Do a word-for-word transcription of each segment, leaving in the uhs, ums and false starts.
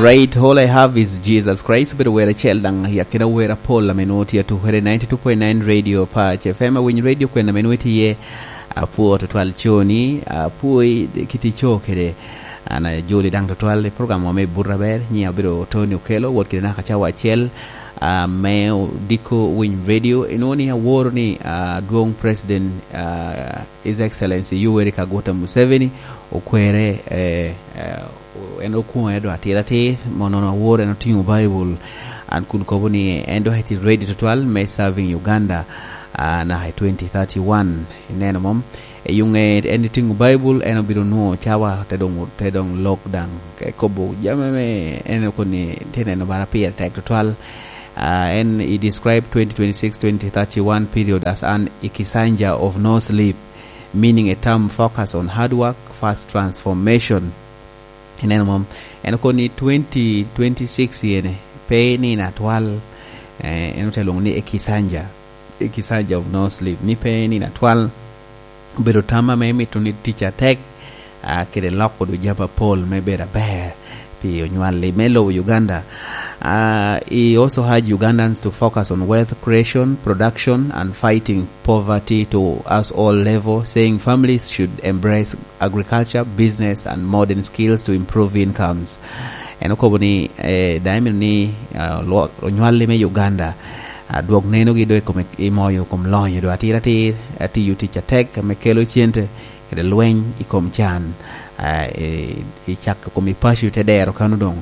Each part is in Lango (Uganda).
Right, all I have is Jesus Christ. Obedo wer acel daŋ i akina wer apol ame nwoŋo tye atukere ninety-two point nine Radio Pac F M. Awiny radio kwena ame nwoŋo itye iye, apwoo tutwal coni, apwoo i kit ico kede. An ajoli daŋ tutwal i program wa me Buto Aber, nyiŋa obedo Tony Okello, wot kede naka cawa acel, ah, me odiko Winy Radio. Inwoŋo ni aworo ni, ah, adwoŋ President, ah, His Excellency Yoweri Kaguta Museveni okwere, eh, eh, en okwoŋe doŋ atir atir, mono awor en otiŋo Baibul, an kun kobo ni en doŋ eti ready tutwal me serving Uganda, ah, naka i twenty thirty-one. Ineno mom? E yo ŋe en etiŋo Baibul, en obino nwoŋo cawa te doŋ, te doŋ lok daŋ. Ka ekobo jami ame en okoni tye neno bara pire tek tutwal. Ah, en i describe twenty twenty-six, twenty thirty-one period as an Ikisanja of no sleep, meaning a term focus on hard work, fast transformation. Ineno mom? En okobo ni twenty twenty-six yene, pe nino atwal, eh, en ote lwoŋo ni Ekisanja, Ekisanja of no sleep, ni pe nino atwal, obedo tam ame mito ni tic atek, ah, kede loko dwe jami apol me bedo aber pi onywalli me lobo Uganda. Ah, he also urged Ugandans to focus on wealth creation, production, and fighting poverty to us all level, saying families should embrace agriculture, business, and modern skills to improve incomes. En okobo ni, eh, daŋ emito ni, ah, lwo-, onywalli me Uganda, ah, dwok nenogi do i kome, i moyo kom lonyo do atir atir, atiyo tic atek ame kelo cente, kede lweny i kom can, ah, i, i cak kom i paco te dero kano doŋ,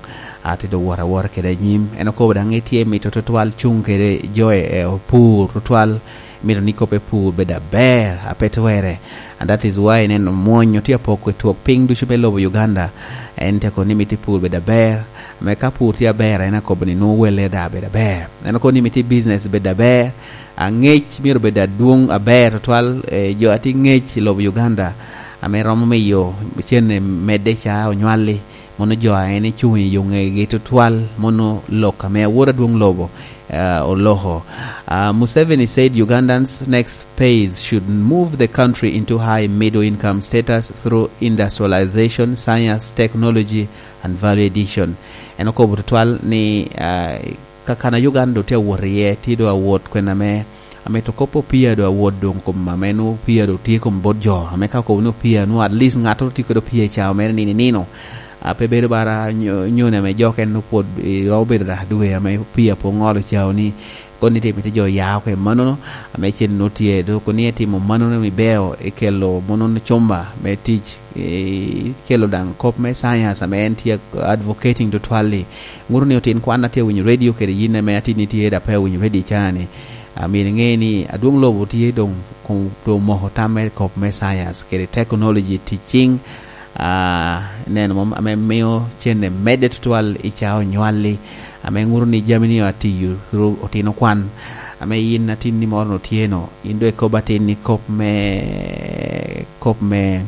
ah, te do wot awota kede anyim. En okobo daŋ etye mito tutwal cuŋ kede jo e, e opur tutwal, mito ni kop epur bed aber, a pe twere. And that is why ineno mwonyo tye apoko i twok piny ducu me lobo Uganda. En te kono ni mito epur bed aber. Ame ka pur tye aber, en akobo ni nwoŋo welle da bed aber. En okobo ni mito business bed aber. Angec myero bed adwoŋ aber tutwal, eh, jo a tye ngec i lobo Uganda, ame romo miyo cene medde ca onywalli. Mono jo a en ecuŋ i yo ŋegi tutwal, mono lok ame awor adwoŋ lobo, ah, oloko. Ah, Museveni said Ugandans' next phase should move the country into high middle income status through industrialization, science, technology, and value addition. En okobo tutwal ni, ah, ka kan a Uganda doŋ tye awot iye, tye doŋ awot kwena me Amito kop opia do awot doŋ kom ame nwoŋo opia do tye kom bot jo. Ame ka okobo ni opia, nwoŋo at least ŋattoro tye kede opia i cawa mere nino i nino. A, pe bedo bara nyo-, nyoni ame jo okene nwoŋo pwod, eh, romo bedo dwe ame opia pwod ŋolo cawa ni. Kono ni tye mito jo ya oko i mannono, ame cen nwoŋo tye, dok ni etimo mannono ni beo, ekelo mono cumba me tic, eh, ekelo daŋ kop me science ame en tye advocating tutwal-li. Ŋuto ni otin kwan a tye awinyo radio kede yin ame atin itye da pe awinyo radio i caa-ni. Amyero iŋe ni adwoŋ lobo tye doŋ, kun doŋ omoko tam me kop me science kede technology tic ciŋ, ah, neno mom ame mio cene medde tutwal i caa onywalli, ame ŋuto ni jami ni atiyo through otino kwan, ame yin atin ni moro no tye no, yin doŋ ikobo atin ni kop me, kop me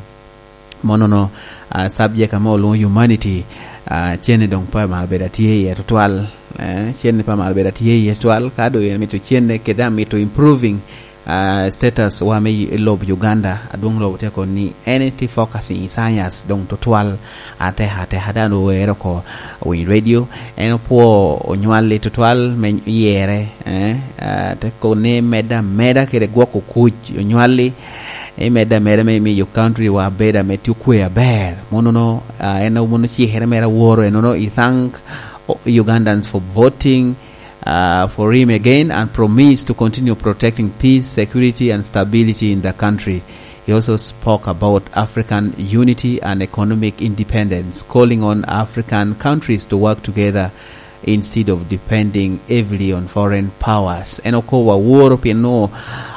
monono, ah, subject ame olwoŋo humanity, ah, cene doŋ pe amaro bedo atye iye tutwal, eh, cene pe amaro bedo atye iye tutwal, ka doŋ en mito cene kede amito improving, ah, status wa me y-, lobo Uganda, adwoŋ lobo tye kono ni en tye focusing i science doŋ tutwal, ateka ateka dano owero oko, owinyo radio, en opwo onywalli tutwal me yere, eh, ah, te kono ni medde ameda kede gwoko kuc onywalli, i medde ameda me miyo country wa bedo ame tye okwe aber. Monono, ah, en mono cikere mere aworo, enono, I thank Ugandans for voting, ah, for him again and promise to continue protecting peace, security and stability in the country. He also spoke about African unity and economic independence, calling on African countries to work together instead of depending heavily on foreign powers. En okobo aworo pien nwoŋo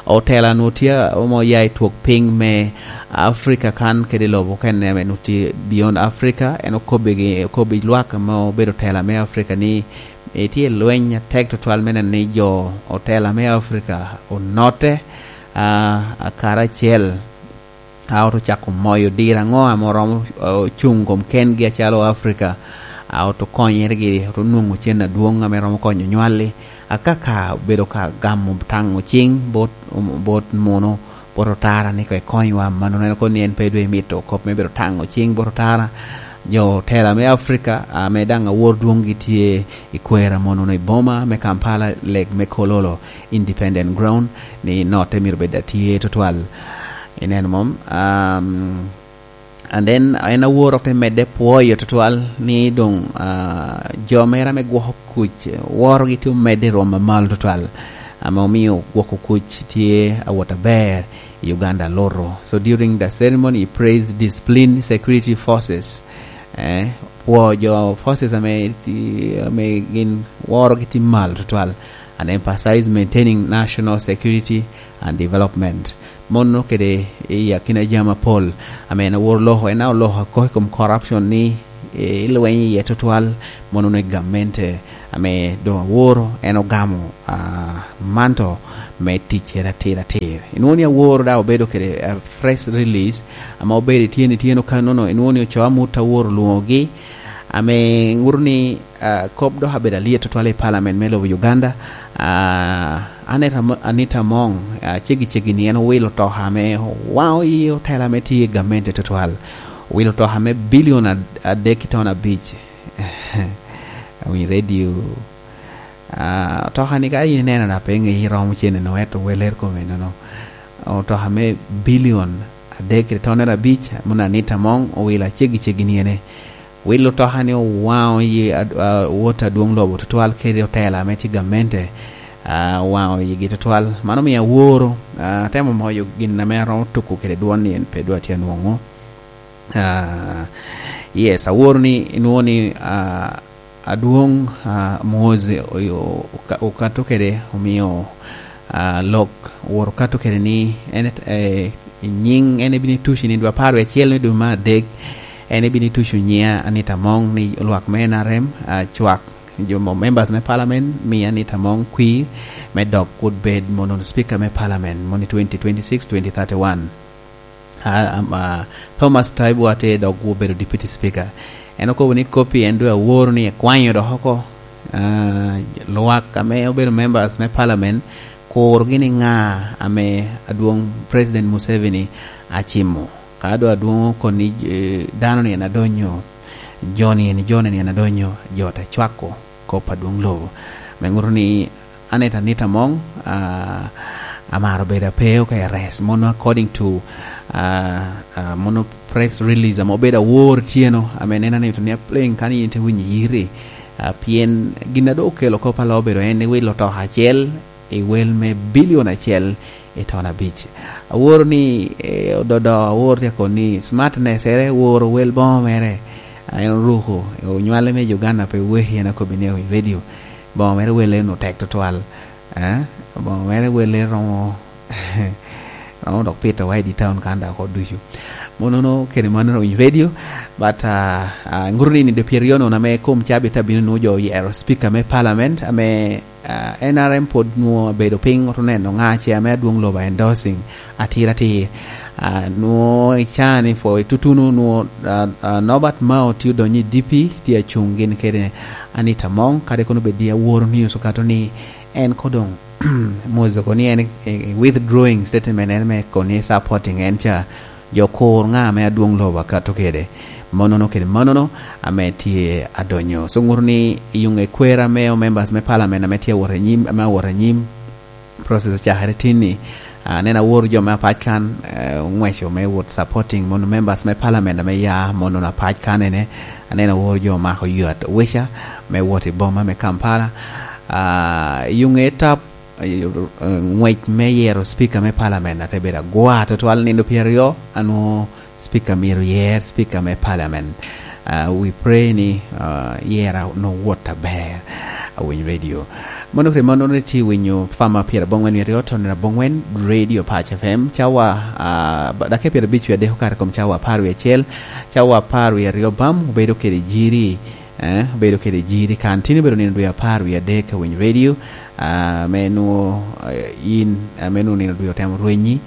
otela nwoŋo tye omo ya i twok piny me Africa kan kede lobo okene ame nwoŋo tye beyond Africa. En okobbi gi, okobbi lwak ame obedo tela me Africa ni etye lweny atek tutwal me neno ni jo otela me Africa onotte, ah, karacel. A oto cako moyo diro aŋo ame oromo, eh, cuŋ kom kengi acalo Africa? A oto konyeregi, oto nwoŋo cen adwoŋ ame romo konyo nywalli. Akaka obedo ka gamo taŋo ciŋ bot, bot muno, bot otara ni ko ekonywa. Mano en kono ni en pe dwe mito kop me bedo taŋo ciŋ bot otara. Jo tela me Africa, ame daŋ awor dwoŋgi tye i kwera mono i boma me Kampala, leg me Kololo, Independent Ground, ni notte myero bed atye tutwal. Ineno mom? Um, and then en awor ok te medde pwoyo tutwal ni doŋ, ah, jo mera me gwoko kuc, worogi tye omedde i rwom amalo tutwal, ame omio gwoko kuc tye awot aber i Uganda loto. So during the ceremony, he praised disciplined security forces. Eh, pwo jo forces ame ti-, ame gin worogi tye malo tutwal, and emphasize maintaining national security and development. Mono kede i akina jami apol ame en awor loko, en oloko akok i kom corruption ni, eh, ilweny iye tutwal, mono ni gamente ame doŋ aworo en ogamo, ah, manto me ticcere atir atir. Inwoŋo ni aworo daŋ obedo kede, ah, press release ame obedo ityeno ityeno kanono, inwoŋo ni ocoo amut aworo olwoŋogi, ame ŋuto ni, ah, kop dok abedo alyet tutwal i parliament me lobo Uganda. Ah, Anita Mo-, Anita Among, ah, ceggi ceggi ni en owilo otoka ame owaŋo i otela ame tye i gamente tutwal. Owilo otoka me bilion ad-, adek ki ton abic. Awinyo radio. Ah, otoka ni ka in ineno na pe ŋeyi romo cene no, eto weler kome nono. Otoka me bilion adek ki tonere abic, mono Anita Among owilo aceggi ceggi ni ene. Wilo otoka ni owaŋo yi ad-, ah, wot adwoŋ lobo tutwal kede otela ame tye gamente, ah, owaŋo yigi tutwal. Mano omio aworo, ah, atemo moyo gin ame aromo tuko kede dwon ni en pe dwa tye anwoŋo. Ah, yes, aworo ni, inwoŋo ni, ah, adwoŋ, ah, Muhoozi oyo-, oka-, okato kede, omio, ah, lok owor okato kede ni en, eh, nyiŋ en ebino tuco i nino dwe apar wiye acel me dwe me adek, en ebino tuco nyiŋa Anita Among ni lwak me N R M, ah, cwak jo mo-, members me parliament, mi Anita Among kwir me dok wot bed mono speaker me parliament, mono i twenty twenty-six, twenty thirty-one. Ah, am-, ah, Thomas Taibu Ate dok obedo Deputy Speaker. En okobo ni kopi en dwe aworo ni ekwanyo dok oko. Ah, lwak ame obedo members me parliament, kur gini ŋa ame adwoŋ President Museveni acimo. Ka dwe adwoŋ okoni, eh, dano ni en adonyo, jo ni en, jo ni en adonyo, jo te cwako kop adwoŋ lobo. Me ŋuto ni Anita Anita Among, ah, amaro bedo apeo ka arrest. Mono according to, ah, ah, mono press release ame obedo awor tyeno, ame neno ni to ni apleŋ kan yin te winyo yiri. Ah, pien gin a doŋ okelo kop alo obedo en ni wilo otoka acel i wel me bilion acel i ton abic. Aworo ni, eh, ododo awor tye akon ni smartness ere woro wel boŋo mere. Ah, en oruko, onywale me Uganda pe weki en akobi ni i radio. Boŋo mere welle no tek tutwal. Eh? Boŋo mere welle romo, romo dok pito wa i di town kan da oko ducu. Monono kede mano owinyo radio, but, ah, ah, ŋuto ni ni de pyeryo nono ame kom cabit abino nu jo oyero speaker me parliament ame, ah, N R M pwod nwo abedo piny, oto neno ŋa ce ame adwoŋ lobo endorsing atir atir. Ah, nwo i caa ni for tutunu nwo, ah, ah, Norbert Mao tye odonyo i D P, tye acuŋ gin kede Anita Among, kadi kono bed ni aworo news okato ni en kodoŋ Muhoozi oko ni en, eh, withdrawing statement en me koni supporting en ca, jo kur ŋa ame adwoŋ lobo akato kede. Monono kede monono ame tye adonyo. So ŋuto ni i yuŋ ekwera me o members me parliament ame tye awot anyim, ame awot anyim, process ocakere tinni. Ah, aneno awor jo me apac kan, eh, oŋweco me wot supporting mono members me parliament ame ya mono apac kan ene. Aneno awor jo omako ywat owica me wot i boma me Kampala. Ah, i yuŋ etap, eh, eh, ŋwec me yero speaker me parliament ate bedo agwa tutwal nino pyeraryo, anwo speaker myero yer, speaker me parliament. Ah, we pray ni, ah, yera no wot aber. Awiny radio. Mono kede mono ni ti winyo fama pyera bongwen wiye ryo, tonera bongwen, Radio Pac F M, cawa, ah, ba-, dakika pyera bic wiye adek okato kom cawa apar wiye acel, cawa apar wiye ryo bam, obedo kede jiri, eh, obedo kede jiri kan. Tini obedo nino dwe apar wiye adek ka winyo radio, ah, me nwo, eh, in, ah, me nwo nino dwe otemo rwenyi,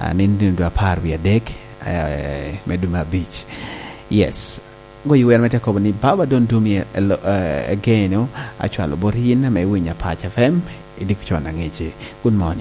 ah, nino dwe apar wiye adek, eh, me dwe me abic. Yes. Goyo wer me te kobo ni, "Baba, don't do me a, a lo-, eh, again, oh, acwalo bot yin ame winyo Apac F M, idiko con angeci." Good morning.